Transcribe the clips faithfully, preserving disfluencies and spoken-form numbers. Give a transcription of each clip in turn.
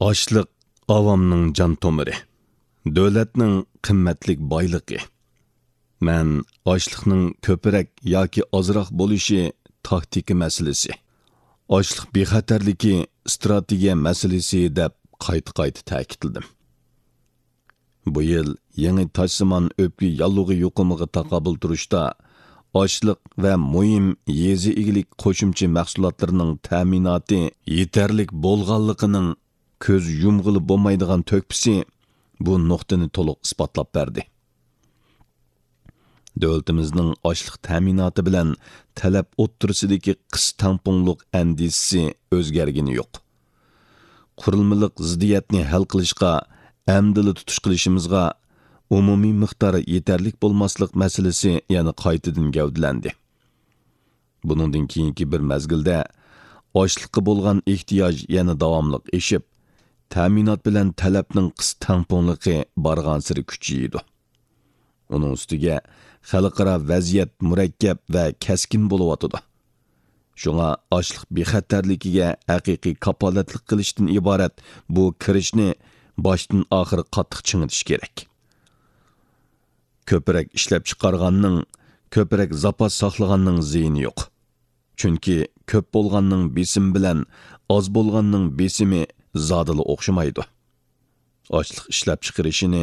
ئاشلىق ئاۋامنىڭ جان تومۇرى، دۆلەتنىڭ قىممەتلىك بايلىقى. مەن ئاشلىقنىڭ كۆپرەك ياكى ئازراق بولۇشى تاكتىكا مەسىلىسى، ئاشلىق بىخەتەرلىكى ئىستراتېگىيە مەسىلىسى دەپ قايتا-قايتا تەكىتلىدىم. بۇ يىل يېڭى تاشسىمان ئۆپكە ياللۇغى يۇقۇمىغا تاقابىل تۇرۇشتا ئاشلىق ۋە مۇھىم يېزا ئىگىلىك قوشۇمچە مەھسۇلاتلىرىنىڭ تەمىناتى يېتەرلىك بولغانلىقىنىڭ كۆز يۇمغىلى بولمايدىغان تۆھپىسى بۇ نۇقتىنى تولۇق ئىسپاتلاپ بەردى. دۆلىتىمىزنىڭ ئاشلىق تەمىناتى بىلەن تەلەپ ئوتتۇرىسىدىكى قىس تەڭپۇڭلۇق ئەندىزىسى ئۆزگەرگىنى يوق. قۇرۇلمىلىق زىددىيەتنى ھەل قىلىشقا ئەمدىلا تۇتۇش قىلىشىمىزغا ئومۇمىي مىقدار يېتەرلىك بولماسلىق مەسىلىسى يەنە قايتىدىن گەۋدىلەندى. بۇنىڭدىن كېيىنكى بىر مەزگىلدە ئاشلىققا بولغان ئېھتىياج يەنە داۋاملىق ئېشىپ، تەمىنات بىلەن تەلەپنىڭ قىس تەڭپۇڭلۇقى بارغانسېرى كۈچىيىدۇ. ئۇنىڭ ئۈستىگە خەلقئارا ۋەزىيەت مۇرەككەپ ۋە كەسكىن بولۇۋاتىدۇ. شۇڭا ئاشلىق بىخەتەرلىكىگە ھەقىقىي كاپالەتلىك قىلىشتىن ئىبارەت بۇ كىرىشنى باشتىن ئاخىر قاتتىق چىڭىتىش كېرەك. كۆپرەك ئىشلەپچىقارغاننىڭ، كۆپرەك زاپاس ساقلىغاننىڭ زىيىنى يوق. چۈنكى كۆپ بولغاننىڭ بېسىمى بىلەن ئاز بولغاننىڭ بېسىمى زادىلا ئوخشىمايدۇ. ئاشلىق ئىشلەپچىقىرىشىنى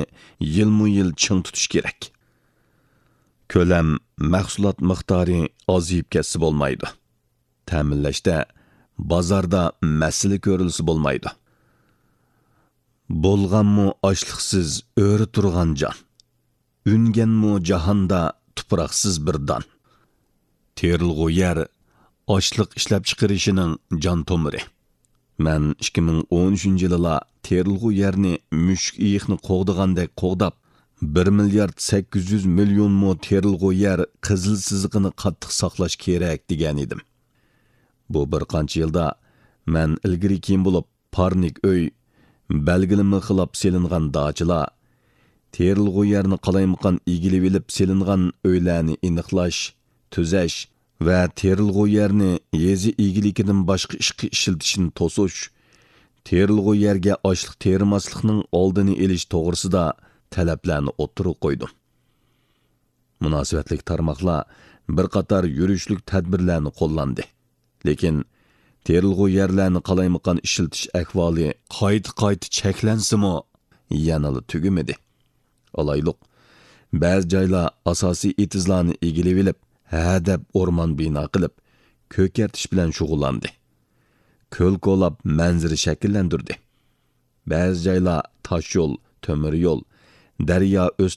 يىلمۇ يىل چىڭ تۇتۇش كېرەك. كۆلەم، مەھسۇلات مىقدارى ئازىيىپ كەتسە بولمايدۇ. تەمىنلەشتە بازاردا مەسىلە كۆرۈلسە بولمايدۇ. بولغانمۇ ئاشلىقسىز ئۆرە تۇرغان جان، ئۈنگەنمۇ جاھاندا تۇپراقسىز بىر دان. تېرىلغۇ يەر ئاشلىق ئىشلەپچىقىرىشىنىڭ جان تومۇرى. مەن ئىككى مىڭ ئون ئۈچىنچى يىلىلا تېرىلغۇ يەرنى مۈشۈك ئېيىقنى قوغدىغاندەك قوغداپ، بىر مىليارد سەككىز يۈز مىليون مو تېرىلغۇ يەر قىزىل سىزىقىنى قاتتىق ساقلاش كېرەك دېگەنىدىم. بۇ بىر قانچە يىلدا مەن ئىلگىرى كېيىن بولۇپ، پارنىك ئۆي، بەلگىلىمە خىلاپ سېلىنغان داچىلار، تېرىلغۇ يەرنى قالايمىقان ئىگىلىۋېلىپ سېلىنغان ئۆيلەرنى ئېنىقلاش، تۈزەش ۋە تېرىلغۇ يەرنى يېزا ئىگىلىكىدىن باشقا ئىشقا ئىشلىتىشنى توسۇش، تېرىلغۇ يەرگە ئاشلىق تېرىماسلىقنىڭ ئالدىنى ئېلىش توغرىسىدا تەلەپلەرنى ئوتتۇرىغا قويدۇم. مۇناسىۋەتلىك تارماقلار بىر قاتار يۈرۈشلۈك تەدبىرلەرنى قوللاندى. لېكىن تېرىلغۇ يەرلەرنى قالايمىقان ئىشلىتىش ئەھۋالى قايتا-قايتا چەكلەنسىمۇ، يەنىلا تۈگىمىدى. ئالايلۇق، بەزى جايلار ئاساسىي ئېتىزلارنى ئىگىلىۋېلىپ، ھەدەپ ئورمان بىنا قىلىپ، كۆكەرتىش بىلەن شۇغۇللاندى. كۆل كولاپ مەنزىرە شەكىللەندۈردى. بەزى جايلار تاشيول، تۆمۈر يول، دەريا ئۆز